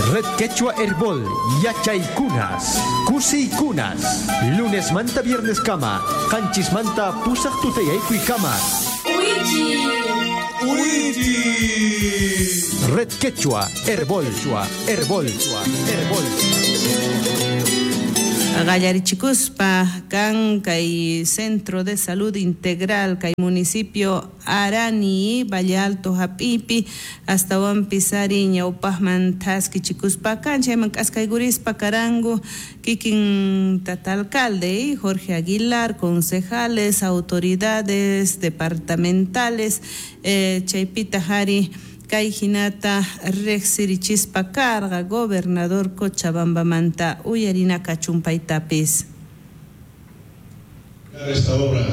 Red Quechua Herbol, Yachaykunas, Kusiykunas, lunes manta viernes kama, qanchis manta pusaq tutayaykuy kama. Red Quechua Herbol, Herbol, Herbol. Qallarichikuspa kan kay Centro de Salud Integral kay municipio Arani, Valle Alto hap'ipi astawanpis ari ñawpaqman thaskichikuspa kan chayman k'askaykurispa karanku kikin tata alcalde Jorge Aguilar, concejales, autoridades departamentales, chaypitaq ari kay hinata riqsirichispa karqa gobernador Cochabambamanta uyarina kachunpaytapis. Esta obra.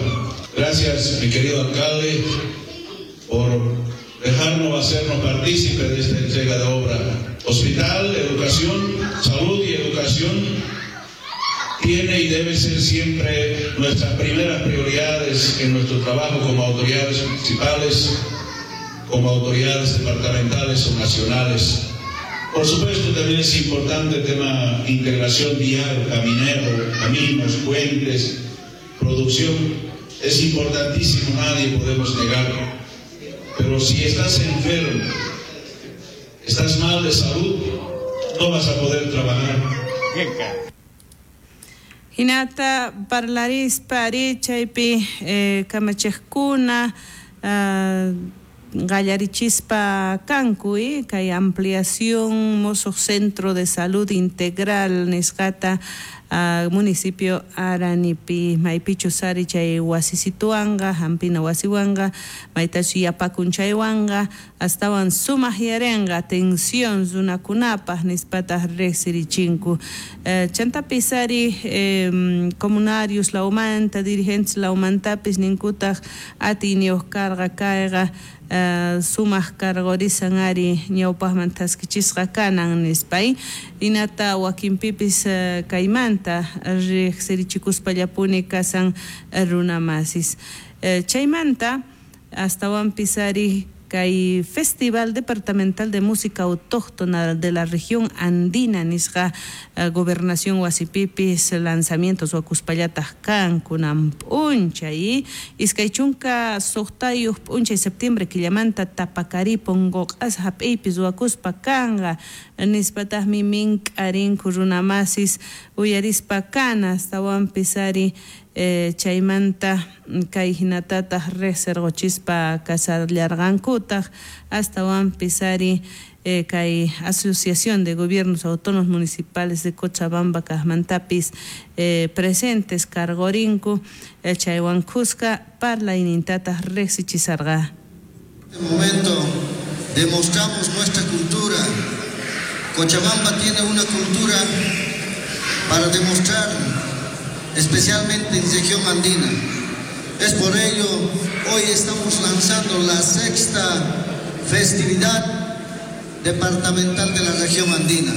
Gracias, mi querido alcalde, por dejarnos hacernos partícipe de esta entrega de obra. Hospital, educación, salud y educación tiene y debe ser siempre nuestras primeras prioridades en nuestro trabajo como autoridades municipales, como autoridades departamentales o nacionales. Por supuesto, también es importante el tema integración vial, caminero, caminos, puentes, producción. Es importantísimo, nadie podemos negarlo. Pero si estás enfermo, estás mal de salud, no vas a poder trabajar. Hinata parlarispa ari chaypi kamachiqkuna qallarichispa kanku kay ampliación musuq Centro de Salud Integral nisqata municipio Aranipi maypichus ari chay wasisituwanqa hampina wasiwanqa maytachu yapakun chaywanqa astawan sumaq yarenqa atención runakunapaq nispataq riqsirichinku. Chantapis ari comunarios lawmanta dirigentes lawmantapis ninkutaq atiyniyuq karqa kayqa sumaq karqurisan ari ñawpaqman thaskichisqa kanan nispay hinata wakinpipis kaymanta riqsirichikuspallapuni kasan runamasis. Chaymanta astawanpis ari kay Festival Departamental de Música Autóctona de la Región Andina nisqa gobernación wasipipis lanzamientos wakuspallataq kan kunan p'unchay 26 p'unchay septiembre killamanta Tapacarí Pongoq'as hap'iypis wakuspa kanqa nispataqmi mink'arinku runamasis uyarispa kana astawanpis ari chaymanta kay hinatataq riqsirquchispa kasallarqankutaq astawanpis ari kay Asociación de Gobiernos Autónomos Municipales de Cochabamba kaqmantapis presentes karqurinku chaywan kuska parlaynintataq riqsichisarqa. En este momento demostramos nuestra cultura. Cochabamba tiene una cultura para demostrar, especialmente en región andina. Es por ello, hoy estamos lanzando la 6ª festividad departamental de la región andina,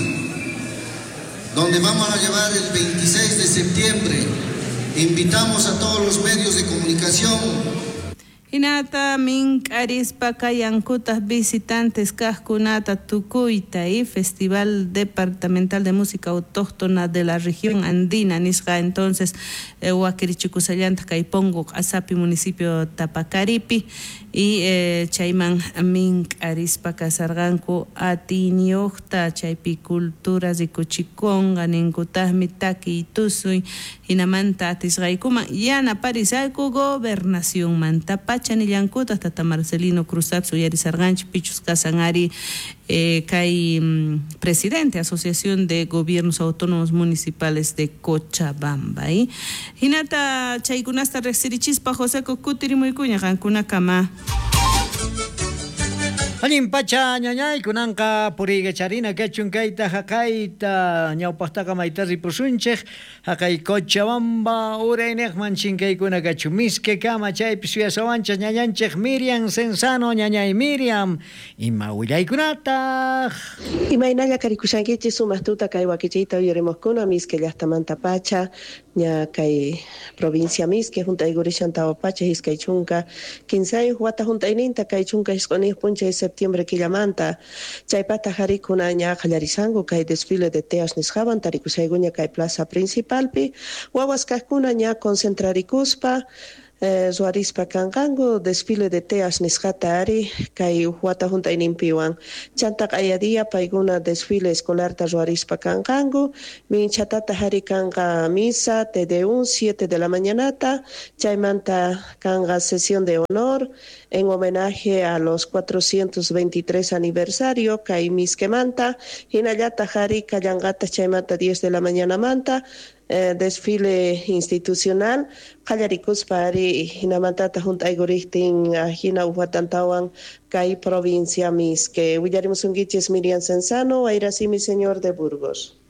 donde vamos a llevar el 26 de septiembre. Invitamos a todos los medios de comunicación. Hinata mink'arispa kayankutaq visitantes kaqkunata tukuyta y Festival Departamental de Música Autóctona de la Región Andina nisqa entonces wakirichikusallantaq kay Pongo Q'asapi municipio Tapacaripi y chayman mink'arispa kasarqanku atiyniyuqta chaypi cultura rikuchikunqa ninkutaqmi takiy tusuy hinamanta atisqaykuman yanaparisayku gobernacionmanta pacha nillankutaq tata Marcelino Cruzapis uyarisarqanchik pichus kasan ari kay presidente Asociación de Gobiernos Autónomos Municipales de Cochabamba. Hinata chaykunasta riqsirichispa José Kutirimuykuña qankunakama. Allin pacha ñañay kunanqa puriykacharina kachun kayta haqayta ñawpaqtaqa mayta ripusunchik haqay Cochabamba urayniqman chinkaykuna kachun miske kama chaypi suyasawanchik ñañanchik Miriam Cenzano. Ñañay Miriam, ima willaykunataq? Imaynalla karikushankichis sumaq tuta kay wakichiyta uyarimuqkuna Misque llaqtamanta pacha ña kay provincia Misque hunt'aykurishan tawa pacha iskay chunka kinsayuq wata hunt'ayninta kay chunka isq'uniyuq p'unchay septiembre killamanta. Chaypata harikuna ña qallarisanku kay desfile de teas nisqawan tarikushaykuña kay plaza principalpi. Wawas kaqkuna ña concentrarikuspa ruwarispa kanqanku desfile de teas nisqata ari kay wata hunt'ayninpiwan. Chanta q'ayadiya paykuna desfile escolarta ruwarispa kanqanku. Minchatata hari kanqa misa Te Deum 7 de la mañanata. Chaymanta kanqa sesión de honor en homenaje a los 423 aniversario kay Misquemanta. Hinallata hari kallanqata chaymanta 10 de la mañana manta. Desfile institucional qallarikuspa ari hinamantata hunt'aykuriqtin hina uqwatantawan kay provincia Misque. Willarimusunkichis Miriam Cenzano, Wayrasimi señor de Burgos.